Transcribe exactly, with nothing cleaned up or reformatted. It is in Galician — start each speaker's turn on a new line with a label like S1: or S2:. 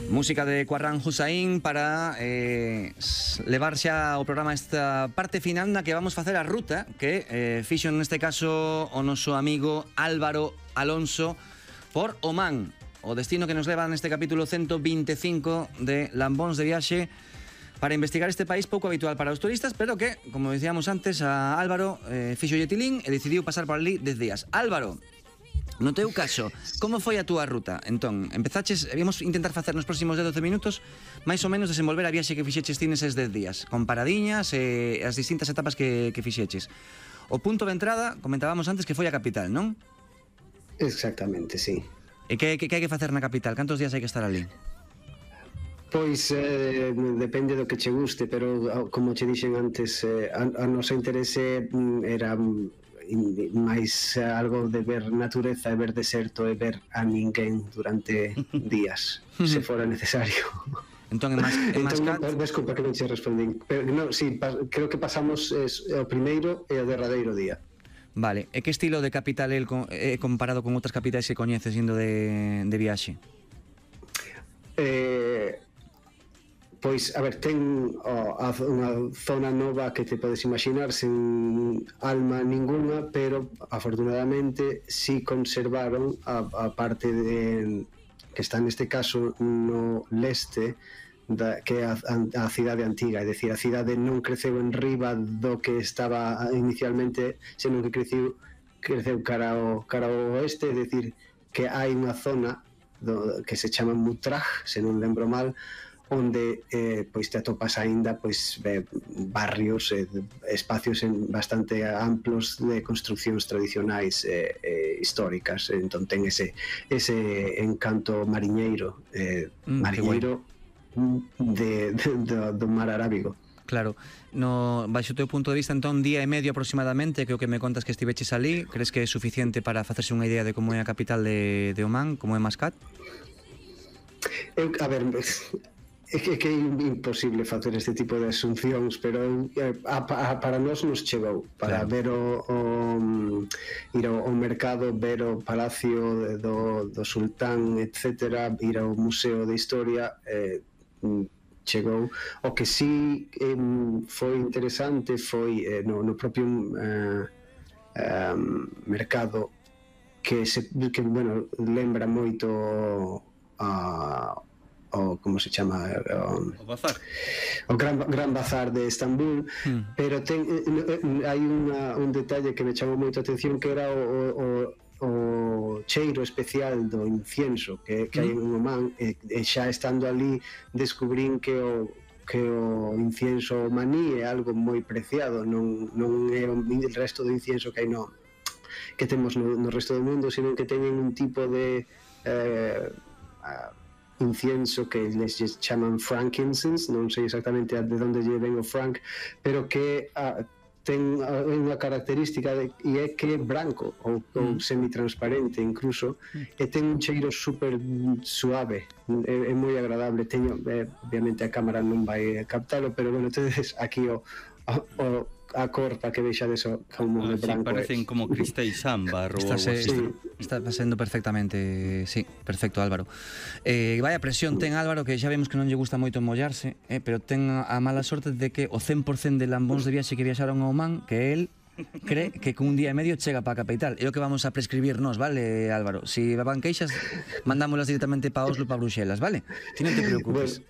S1: Música de Quarrán Hussain para eh, levar xa o programa esta parte final na que vamos facer a ruta que eh, fixo neste caso o noso amigo Álvaro Alonso por Omán, o destino que nos leva neste capítulo ciento veinticinco de Lambóns de Viaxe para investigar este país pouco habitual para os turistas, pero que, como dicíamos antes, a Álvaro eh, fixo yetilín e decidiu pasar por ali dez días. Álvaro, no teu caso, como foi a túa ruta? Entón, empezaches, íamos intentar facer nos próximos dez a doce minutos máis ou menos desenvolver a viaxe que fixeches ti neses dez días, con paradiñas e as distintas etapas que, que fixeches. O punto de entrada, comentábamos antes que foi a capital, non?
S2: Exactamente, sí.
S1: E que, que, que hai que facer na capital? Cantos días hai que estar ali?
S2: Pois eh, depende do que che guste, pero como che dixen antes, eh, a, a noso interese era máis algo de ver natureza e ver deserto e ver a ninguén durante días, se fora necesario.
S1: Entón, en, Mas, en Mascat...
S2: Entón, desculpa que non che respondín, pero no, sí, pa, creo que pasamos es, o primeiro e o derradeiro día.
S1: Vale, e que estilo de capital é eh, comparado con outras capitais que coñeces indo de, de viaxe?
S2: Eh... Pois, a ver, ten oh, a, unha zona nova que te podes imaginar sen alma ninguna, pero afortunadamente sí conservaron a, a parte de, que está neste caso no leste, da, que é a, a, a cidade antiga, é dicir, a cidade non creceu en riba do que estaba inicialmente, senón que creceu, creceu cara ao, cara ao oeste, é dicir, que hai unha zona do, que se chama Mutraj, se non lembro mal, onde eh, pois te atopas aínda pois eh, barrios e eh, espacios en bastante amplos de construcións tradicionais e eh, eh, históricas. Entón ten ese ese encanto mariñeiro eh, mm, mariñeiro de, de, de, do mar Arábigo.
S1: Claro, no, baixo o teu punto de vista, entón, día e medio aproximadamente, que o que me contas que estiveches ali, crees que é suficiente para facerse unha idea de como é a capital de, de Omán, como é Mascat?
S2: Eu, a ver, é que, que é imposible facer este tipo de asuncións, pero eh, a, a, para nós nos chegou para claro. ver o, o ir ao, ao mercado, ver o palacio do, do sultán, etcétera, ir ao museo de historia, eh, chegou. O que sí eh, foi interesante foi eh, no, no propio eh, eh, mercado que, se, que bueno, lembra moito a o como se chama o,
S3: o bazar
S2: o gran, gran bazar de Estambul, mm. pero ten, hai unha, un detalle que me chamou moito a atención, que era o, o, o cheiro especial do incienso que, que mm. hai en Omán, e, e xa estando ali descubrín que o que o incienso omaní é algo moi preciado, non, non é o resto do incienso que hai no que temos no, no resto do mundo, sino que teñen un tipo de eh, a, incienso que les chaman frankincense, non sei exactamente de onde lle ven o frank, pero que ah, ten unha característica de, e é que é branco ou, ou semitransparente incluso, e ten un cheiro super suave, é, é moi agradable. Teño, eh, obviamente a cámara non vai captalo, pero bueno, entonces aquí o, o a cor para que deixa deso como
S3: ah,
S2: de branco.
S3: Sí, parecen es. Como cristéis ámbar ou algo así.
S1: Sí. Está pasando perfectamente, sí, perfecto, Álvaro. Eh, vaya presión ten Álvaro, que xa vemos que non lle gusta moito mollarse, eh, pero ten a mala sorte de que o cen por cento de lambóns de viaxe que viaxaron a Omán, que él cree que con un día e medio chega para a capital. É o que vamos a prescribirnos, vale, Álvaro? Si van queixas, mandámolas directamente para Oslo, para Bruxelas, vale? Ti non te preocupes.
S2: Bueno.